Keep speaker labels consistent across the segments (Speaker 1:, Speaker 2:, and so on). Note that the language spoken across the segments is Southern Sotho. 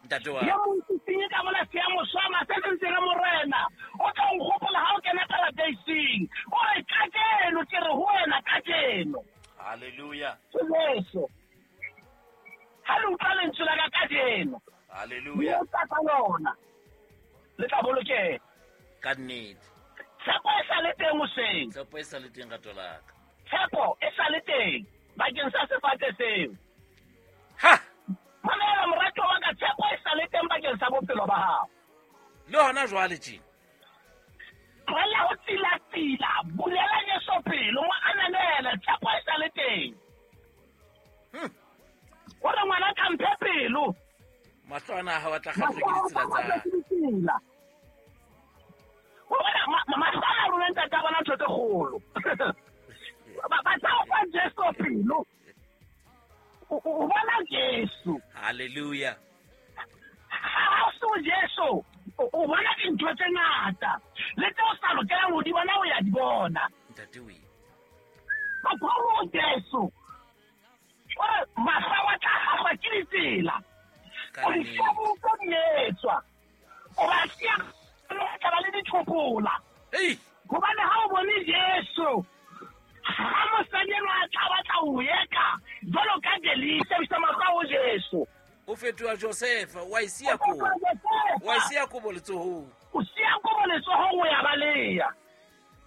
Speaker 1: Ntate wa
Speaker 2: Ye mong sesenyi ka bona se ya mo swama, se seng se re, Morena, o tla nkgopola ha o kena paradeising. O re, Kajeno, ke re ho wena, kajeno.
Speaker 1: Halleluja.
Speaker 2: Ke Jesu. Ha le utlwa lentswe la ka kajeno,
Speaker 1: Halleluja.
Speaker 2: le tla ka lona, le tla bolokeha.
Speaker 1: Ka nnete.
Speaker 2: Tshepo e sa le teng hoseng.
Speaker 1: Tshepo e sa le teng, rato la ka.
Speaker 2: Tshepo e sa le teng bakeng sa sefate seo.
Speaker 1: Ha!
Speaker 2: Mamela, morato wa ka, tshepo e sa le teng bakeng sa bophelo ba hao.
Speaker 1: Le hona jwale tjena.
Speaker 2: Tlohella ho tsilatsila, bulela Jesu pelo, mo ananele, tshepo e sa le teng. O re, ngwana ka, mphe pelo.
Speaker 1: Mahlo ana a hao a tla kgahlwa ke ditsela tsa
Speaker 2: Ke ditsela. O bona, mahlo ana a rona, ntate, a bona ntho tse kgolo. Ba tla o fa Jesu pelo. O bona Jesu.
Speaker 1: Halleluja.
Speaker 2: Ha o se o Jesu, o bona dintho tse ngata. Le tse o sa lokelang ho di bona, o ya di bona.
Speaker 1: Ntate we.
Speaker 2: Batho ba ho Jesu. O re, mahlo a tla hahlwa ke ditsela.
Speaker 1: Ka
Speaker 2: O di
Speaker 1: nnete.
Speaker 2: hlabotse di etswa. O ba siya, o tla ba le dithopola.
Speaker 1: Ei!
Speaker 2: Hobane ha o bone Jesu, ha mosadi enwa a tla batla ho eka jwalo ka Delisa, bisa mahlo a ho Jesu.
Speaker 1: O fetoha Josefa, wa e siya kobo. Wa e siya kobo letsohong.
Speaker 2: O siya kobo letsohong, o ya baleha.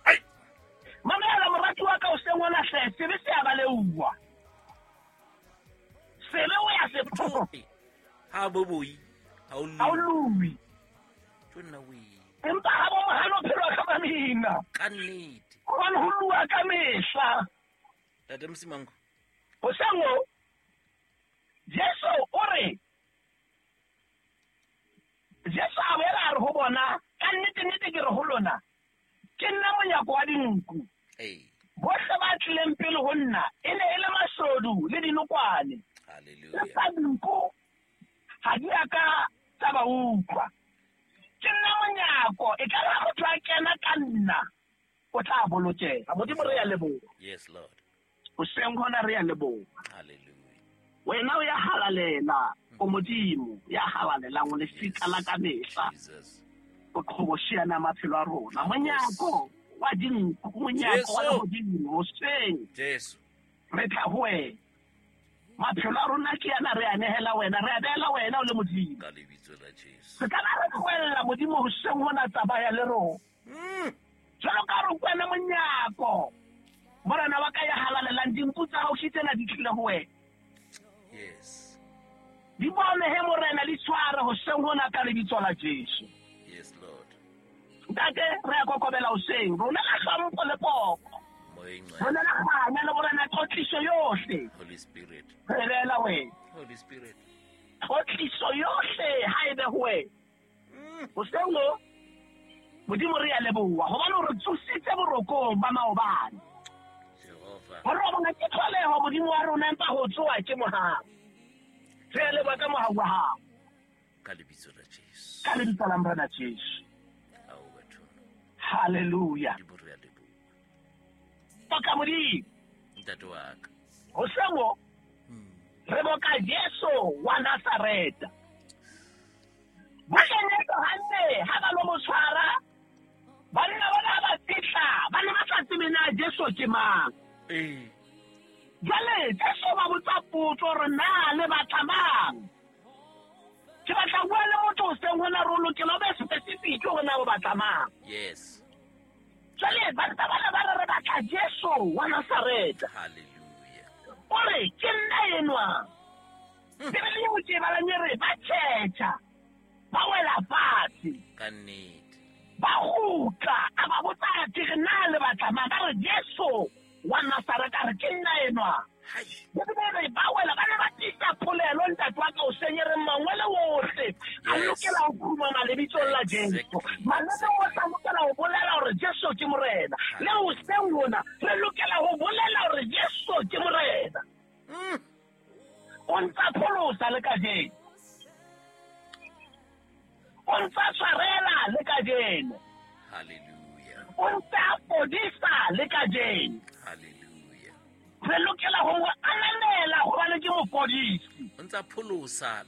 Speaker 1: Ai!
Speaker 2: Mamela, morati wa ka, o seng ona hle, sebe se a baleuwa. Sebe o ya se
Speaker 1: Thope. Ha bo boi, ha o
Speaker 2: Ha o
Speaker 1: lue.
Speaker 2: lue.
Speaker 1: Tjo nna we.
Speaker 2: Empa ha bo mohano phelwa ka mamina.
Speaker 1: Ka nnete.
Speaker 2: Hobane ho lua ka mehla.
Speaker 1: Ntate Msimango.
Speaker 2: Hoseng o, Jesu o re, Jesu a boela a re ho bona, ka nnete nnete ke re ho lona, ke nna monyako wa dinku.
Speaker 1: Ei.
Speaker 2: Bohle ba tlileng pele ho nna e ne e le mashodu le dinokwane.
Speaker 1: Halleluja.
Speaker 2: Empa dinku ha di a ka tsa ba utlwa. Ke nna monyako, e ka re ha motho a kena ka nna, o tla bolokeha. Modimo, re ya leboha.
Speaker 1: Yes, Lord.
Speaker 2: Hoseng hona re ya leboha.
Speaker 1: Halleluja.
Speaker 2: Wena o ya halalela, o Modimo ya halalelang, o lefika la ka mehla.
Speaker 1: Jesus.
Speaker 2: O qhobosheana maphelo a rona. Monyako wa dinku, monyako wa
Speaker 1: Jesu.
Speaker 2: lehodimo, hoseng
Speaker 1: Jesu.
Speaker 2: re tla ho wena. Maphelo a rona ke yana, re a nehela wena, re a beela wena o le Modimo.
Speaker 1: Ka lebitso la Jesu.
Speaker 2: Se ka ba re tlohella Modimo hoseng hona, tsamaya le rona. Jwalo ka re kwena monyako, Morena wa ka ya halalelang, dinku tsa hao ke tsena di tlile ho wena.
Speaker 1: Yes.
Speaker 2: Di bone he, Morena, di tshware hoseng hona ka lebitso la Jesu.
Speaker 1: Yes, Lord.
Speaker 2: Ntate, re a kokobela hoseng, rona la hlompho le poko.
Speaker 1: Moyeng.
Speaker 2: Rona la kganya le Morena tlotliso yohle.
Speaker 1: Holy Spirit.
Speaker 2: Re beela wena.
Speaker 1: Holy Spirit.
Speaker 2: Tlotliso yohle ha e be ho wena. Hoseng o, Modimo, re a leboha hobane o re tsositse borokong ba maobane.
Speaker 1: Jehova.
Speaker 2: Ho robala ke tlholeho, Modimo wa rona, empa ho tsoha ke mohau. Re a leboha ka mohau wa hao.
Speaker 1: Ka lebitso la Jesu.
Speaker 2: Ka lebitso la Morena Jesu.
Speaker 1: Ao batho.
Speaker 2: Halleluja.
Speaker 1: Modimo, re a leboha.
Speaker 2: Boka Modimo.
Speaker 1: Ntate wa ka.
Speaker 2: Hoseng o, re boka Jesu wa Nazareta. Bukeng ya Johanne, ha ba lo mo tshwara, banna bona ha ba fihla, ba ne ba sa tsebe na Jesu ke mang.
Speaker 1: Ee.
Speaker 2: Jwale Jesu ba botsa potso hore na le batla mang. Ke batla ho bua le motho hoseng hona, re o lokela o be specific hore na o batla mang.
Speaker 1: Yes.
Speaker 2: Jwale banna bana ba re, re batla Jesu wa Nazareta.
Speaker 1: Halleluja.
Speaker 2: O re, ke nna enwa. Bibele eo ke e balang e re ba tjhetjha, ba wela fatshe.
Speaker 1: Ka nnete.
Speaker 2: Ba kgutla, a ba botsa, ke re na le batla mang? Ba re Jesu wa Nazareta. A re, ke nna enwa.
Speaker 1: Hai.
Speaker 2: Bibele e re ba wela, ba ne ba tiisa polelo, ntate wa ka, o seng e reng mangwele ohle a
Speaker 1: Yes.
Speaker 2: lokela ho khumama lebitsong la Jesu. Maleme ohle a lokela ho bolela hore Jesu ke Morena. Le hoseng hona re lokela ho bolela hore Jesu ke Morena. O ntsa pholosa le kajeno. O ntsa tshwarela le kajeno.
Speaker 1: Halleluja.
Speaker 2: O ntsa fodisa le kajeno.
Speaker 1: Halleluja.
Speaker 2: Re lokela ho mo ananela hobane ke mofodisi.
Speaker 1: O ntsa pholosa.